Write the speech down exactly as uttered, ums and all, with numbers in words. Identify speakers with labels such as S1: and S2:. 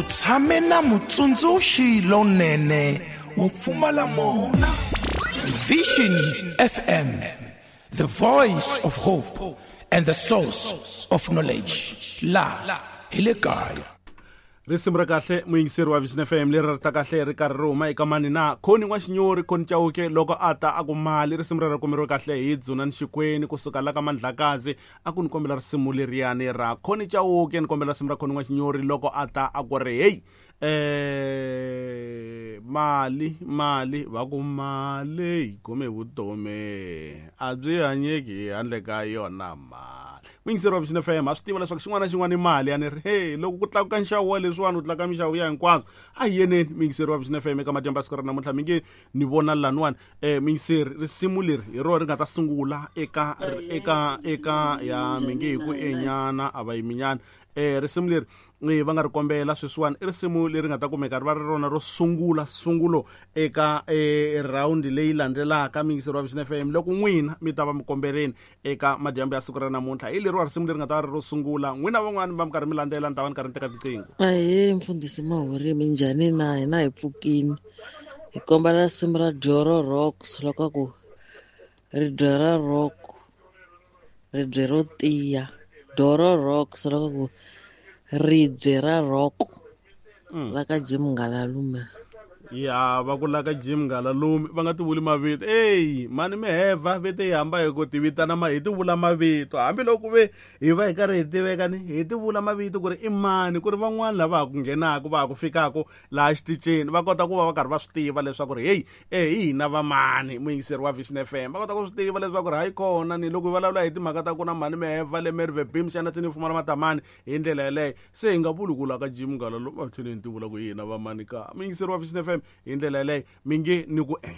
S1: Tshame na mutsundzuxi lonene wo pfumala mona. Vision F M, the voice of hope and the source of knowledge. La hi le kaya.
S2: Risimu ra kahle muyingiseri wa Vision F M leri ri ta kahle ri karhi ri huma eka mani na Khoni N'waxinyori Khoni Chauke loko a ta a ku mali risimu rero kumeriwe kahle hi Dzunani Xikwenu kusuka la ka Mandlakazi a ku ni kombela risimu leriyani ra Khoni Chauke ni kombela risimu ra Khoni N'waxinyori loko a ta a ku ri hey eh mali mali va ku mali yi kume vutomi a byi hanyeki handle ka yona mali. Muyingiseri wa Vision F M a swi tiva leswaku xin'wana na xin'wana i mali ya ni ri hey loko ku tlakuka nxavo wa leswiwani u tlakuka minxavo ya hinkwaswo a hi yeneni muyingiseri wa Vision F M eka madyambu ya siku ra namuntlha mi nge ni vona laniwani eh muyingiseri risimu leri hi rona ri nga ta sungula eka eka eka ya mi nge hi ku enyana a va yiminyana eh risimu leri eh va nga ri kombela sweswiwani i risimu leri nga ta kumeka ri va ri rona ro sungula sungulo eka eh round leyi landzelaka muyingiseri wa Vision F M loko n'wina mi ta va mi kombeleni eka madyambu ya siku ra namuntlha hi leriwa risimu leri nga ta va ri ro sungula n'wina van'wani va mi karhi mi landzela ni ta va ni karhi ni teka tiqingho.
S3: Ahee mfundhisi Mahori minjhani na hina hi pfukini hi kombela risimu ra Doro Rocks loko ku ribye ra rock ribye ro tiya Doro Rocks loko ku ribye ra rock la ka Jim Ngalalume.
S2: Ya va ku la ka Jim Ngalalume va nga ti vuli mavito ey mani miheva vete hi hamba hi ku ti vitana ma hi ti vula mavito hambiloko ve hi va hi karhi hi tiveka ni hi ti vula mavito ku ri i mani ku ri van'wani lava ha ku nghenaka va ha ku fikaka laha xitichini va kota ku va va karhi va swi tiva leswaku ri hey eh hi hina va mani muyingiseri wa Vision F M va kota ku swi tiva leswaku ri hayi kona ni loko hi vulavula hi timhaka ta ku na mani miheva le Merwe Beam xana tini fumala matamani hi ndlela yeleyo se hi nga vuli ku la ka Jim Ngalalume va tlhele ni ti vula ku hi hina va mani ka muyingiseri wa Vision F M hi ndlela yeleyo mi nge ni ku eh